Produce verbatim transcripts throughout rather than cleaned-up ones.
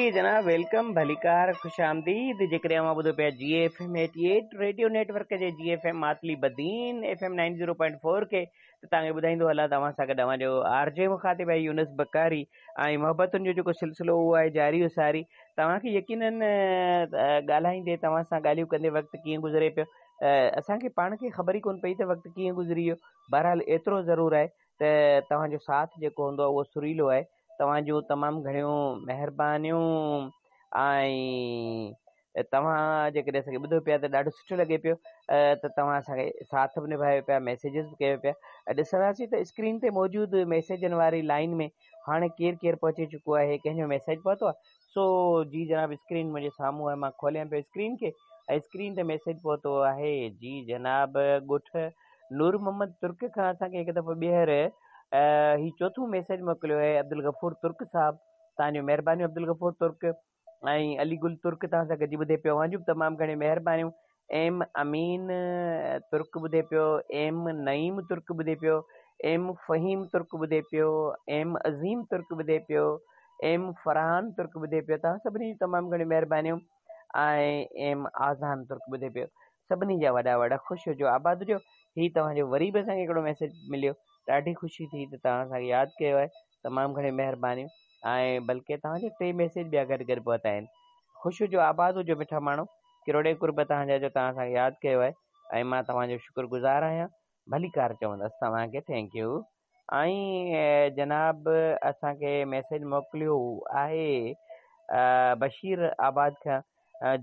جناب welcome, ڀليڪار، خوش آمديد. جيڪڏهن اوهان ٻڌو پيا جي F M eighty eight radio network جي جي F M Matli Badin F M nine zero point four کي ته توهان کي ٻڌائيندو هلان ته اوهان سان گڏ اوهان جو آر جي مخاطب آهي يونس بڪاري ۽ محبتن جو جيڪو سلسلو اهو آهي جاري و ساري. توهان کي يقينن ڳالهائيندي توهان سان ڳالهيون ڪندي وقت ڪيئن گذري پيو اسان کي پاڻ کي خبر ئي ڪونه پئي ته وقت ڪيئن گذري ويو. بهرحال ايترو ضرور آهي ته توهان جو ساٿ جيڪو هوندو آهي اهو سريلو آهي. توهان جون تمام گهڻيون مهربانيون ۽ توهان جيڪڏهن اسان کي ٻڌو پيا ته ڏاڍو سٺو لڳي پيو ته توهان اسان کي ساٿ به نڀايو پيا، ميسيجز به ڪيو پيا. ڏسنداسين ته اسڪرين تي موجود ميسيجن واري لائن ۾ هاڻي ڪير ڪير پهچي چڪو آهي، ڪنهن جو ميسيج پهتو آهي. سو جي جناب اسڪرين منهنجي سامهون آهي، مان کوليان پيو اسڪرين کي ۽ اسڪرين تي ميسيج پهتو آهي. جي جناب ڳوٺ نور محمد ترڪ کان اسان کي هڪ دفعو ٻيهر هي چوٿون ميسيج موڪليو آهي عبدالغفور ترڪ صاحب. توهان جون مهربانيون عبدالغفور ترڪ ۽ علي گل ترڪ توهان سان گڏجي ٻڌي پيو، اوهان جون به تمام گهڻيون مهربانيون. ايم امين ترڪ ٻڌي پيو، ايم نعيم ترڪ ٻڌي پيو، ايم فهيم ترڪ ٻڌي پيو، ايم عظيم ترڪ ٻڌي پيو، ايم فرحان ترڪ ٻڌي پيو. توهان سڀني جون تمام گهڻيون مهربانيون. ۽ ايم آزان ترڪ ٻڌي پيو. سڀني جا وڏا وڏا خوش هجو، آباد هجو. هي توهان جو وري به اسان کي هڪڙو ميسيج مليو، ڏاڍي خوشي ٿي ته توهان اسان کي ياد ڪيو آهي. تمام گهڻيون مهربانيون. ۽ بلڪه توهان جا ٽي ميسيج ٻيا گڏ گڏ پهتا آهن. خوش هجو، آباد هجو مٺا ماڻهو، ڪروڙين قرب توهان جا جو توهان اسان کي ياد ڪيو آهي ۽ مان توهان جو شڪر گذار آهيان. ڀليڪار چوندس توهان کي، thank you. ۽ جناب اسان کي ميسيج موڪليو آهي بشير آباد کان.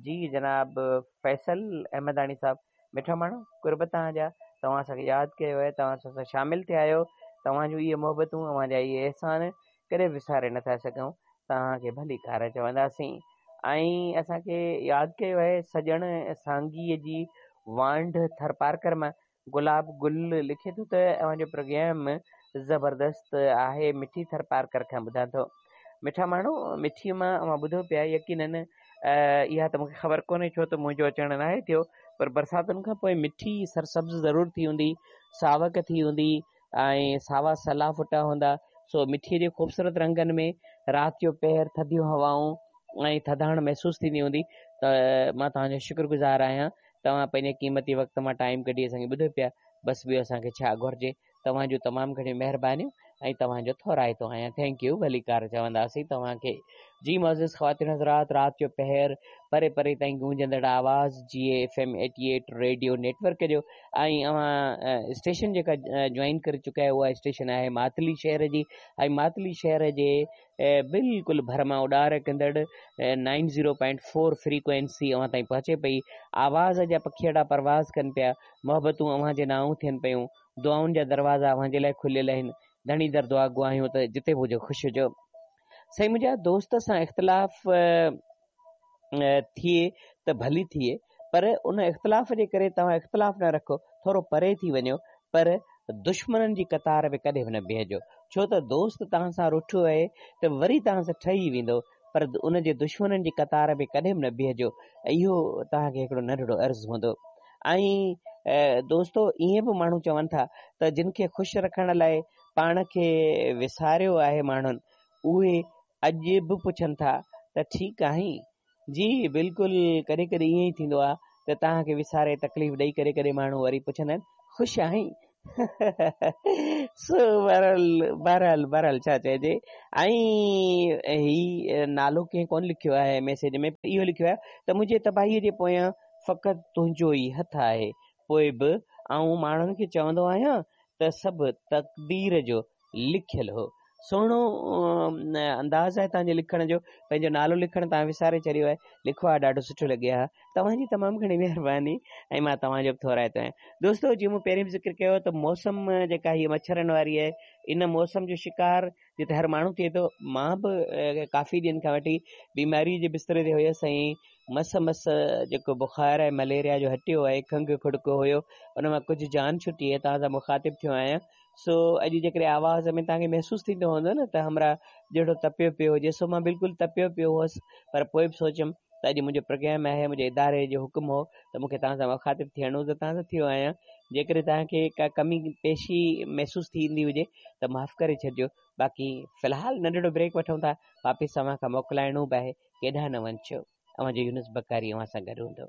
جي جناب فيصل احمداڻي صاحب، مٺا ماڻهو قرب توهان جا، توهان اسان کي ياد ڪيو آهي، توهان اسان سان شامل ٿيا آهيو. توهان جون اهي محبتون، اوهان جا اهي احسان ڪڏهن به وساري نٿا سگهون. توهان کي ڀليڪار چونداسين. ۽ اسان کي ياد ڪيو آهي سڄڻ سانگيءَ جي وانڍ ٿرپارڪر مان گلاب گل لکي ٿو ته اوهان جو پروگرام زبردست آهي، مٺي ٿرپارڪر کان ٻڌان ٿو. مٺا ماڻهو مٺيءَ مان اوهان ٻڌو پيا، يقينن اها ته مون کي خبر ڪونهي ڇو ته منهنجو اچڻ ناهي ٿيو، پر برساتن کان پوءِ مٺي سرسبز ضرور ٿي هوندي، ساوڪ ٿي هوندي ۽ ساوا سلا ڦٽا هوندا. سو مٺيءَ جي خوبصورت رنگن ۾ رات جو پهر ٿڌيون هوائون ۽ ٿڌاڻ محسوس ٿيندي هوندي. ته مان توهان جو شڪرگذار آهيان، توهان پنهنجي قيمتي وقت مان ٽائيم ڪڍي اسان کي ٻڌو پيا. بس ٻيو اسان کي ڇا گهرجي. توهان جون تمام گهڻيون مهربانيون ۽ توهان جو ٿورائتو آهيان، thank you, ڀليڪار چونداسين توهان کي. جي معزز خواتين حضرات، رات جو پهر پري پري تائين گونجندڙ آواز جي F M eighty eight radio network جو ۽ اوهان اسٽيشن جيڪا جوائن ڪري چڪا آهيو اها اسٽيشن آهي ماتلي شهر جي ۽ ماتلي شهر جي بلڪل ڀر مان اڏار ڪندڙ nine zero point four frequency اوهان تائين پهچي پئي. آواز جا پکيئڙا پرواز ڪن پيا، محبتون اوهان جي نانءُ ٿين پيون، دعائن جا دروازا اوهان جي لاءِ کليل آهن. ڌڻي در دعا گو آهيون ته جتي به هجو خوش هجو. سائين منهنجا دوست سان اختلاف ٿئي ته ڀلي ٿئي، پر ان اختلاف جي ڪري توهان اختلاف نه رکو، ٿورو پري ٿي وڃو، پر دشمنن جي قطار ۾ ڪڏهن به نه بيهجو. ڇو ته دوست توهان سان رٺو آهي ته وري توهان سان ٺهي ويندو، پر ان جي دشمنن جي قطار ۾ ڪڏهن به نه بيهجو. اهو توهان کي هڪڙو ننڍڙو عرض هوندو. ۽ دوستو ائين به ماڻهو چون ٿا ته جن کي خوش رکڻ لاءِ پاڻ کي وساريو آهي ماڻهن، اهي اڄ به پڇن ٿا ته ٺيڪ آهين؟ جي بلڪل، ڪڏهن ڪڏهن ائين ئي ٿيندو آهي ته توهان کي وساري تڪليف ڏيئي ڪري ڪڏهن ماڻهو وري پڇندا آهن خوش آهين؟ سو بهرحال بهرحال بهرحال ڇا چئجي. ۽ هي نالو ڪنهن ڪونه لکيو آهي ميسيج ۾، اهو لکيو آهي ته منهنجي تباهيءَ جي پويان فقط تنهنجو ئي هٿ آهي، پوءِ به آئون ماڻهن کي چوندو آهيان ته سڀ تقدير جو لکيل هو. سهڻو انداز آهي توهان جي لکڻ جو، پنهنجو نالو لکڻ توهان وساري ڇڏيو آهي، لکو آهي ڏاڍو سٺو لڳي ها. توهان جي تمام گهڻي مهرباني ۽ مان توهان جو به ٿورائتو آهيان. دوستو جيئن مون پهرين به ذڪر ڪيو ته موسم جيڪا هيءَ مڇرن واري آهي، ان موسم جو شڪار جتي هر ماڻهو ٿئي ٿو. مان به ڪافي ڏينهن کان وٺي بيماريءَ جي بستري تي هيس ۽ مس مس جيڪو بخار ۽ مليريا جو هٽيو آهي، کنگهه کڙڪو هيو، ان مان ڪجهه جان ڇٽي آهي، توهان سان مخاطب ٿيو آهيان. سو اڄ جيڪڏهن آواز ۾ توهان کي محسوس ٿيندو هوندو نه ته همراهه جهڙو تپيو پيو هجي، سو مان بلڪل تپيو پيو هئس، پر پوءِ به سوچيم ته اڄ منهنجو پروگرام آهي، منهنجي اداري جو حڪم هو ته مون کي توهان سان مخاطب ٿيڻو ته توهان سان ٿيو آهيان. جيڪڏهن توهان کي ڪا ڪمي پيشي محسوس ٿيندي هجي ته معاف ڪري ڇڏجو. باقي في الحال ننڍڙو بريڪ وٺون ٿا، واپس اوهان کان موڪلائڻو به آهي. ڪيڏانهن نه وڃجو. اوهان جو يونس بڪاري اوهان سان گڏ هوندو.